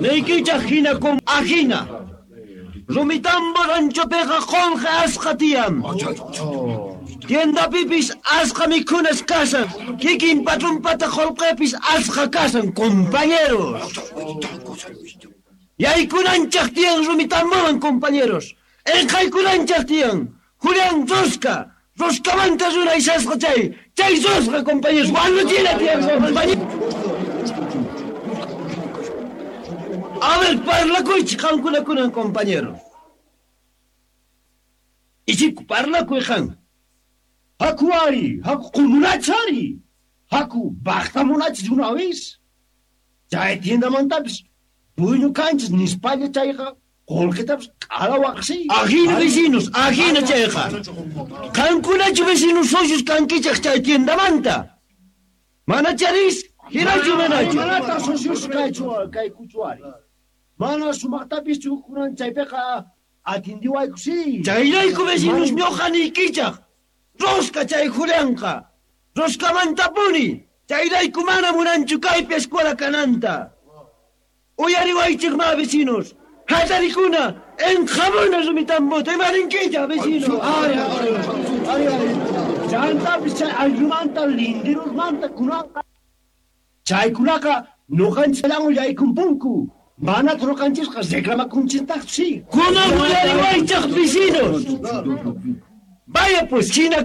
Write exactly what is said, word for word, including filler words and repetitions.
Niykichaj hina kum ajina. Rumitambo ranchopiqa qolqe asqa tiyan. Tiendapipis asqa mikhunas kasan. Kikin patronpata qolqepis asqa kasan, compañeros. Yaykunanchaj tiyan Rumitamboman, compañeros. Enqaykunanchaj tiyan. Julián Rosca. Roscamanta runa isasqa chay. Chay Rosca, compañeros. Wanuchina tiyan, compañeros. A ver, parlakuychik qamkunakunan, compañeros. Ichiku, parlakuy qan. Haku ari, haku qumunachari. Haku bajtamunachis una vez. Chay tiendamantapis dueño kanchis nispalla chayqa qolqetapis q'alawaqsi. Ajina vecinos, ajina chayqa. Qankunachu vecinos socios kankichaj chay tiendamanta. Mana charis, hinachu manachu. Manataq socios kaychu kaykuchu ari. Mana sumaqtapis kunan chaypiqa atindiwayku si. Chayrayku vecinos ñuqa niykichaj. Rosca chay Julianqa. Roscamantapuni. Chayrayku mana munanchu kaypi escuela kananta. Uyariwaychik ma vecinos. Hatarikuna enjabona Rumitambota imarinkichaj vecinos. Ari, ari, ari, ari. Chantapis chay ayllumanta lindirusmanta kunanqa. Chaykunaqa ñuqanchikllawan yaykunpunku. Mana ñuqanchisqa reclamakunchintaqchu si. Kunan uyariwaychaj vecinos. Vaya pues, China.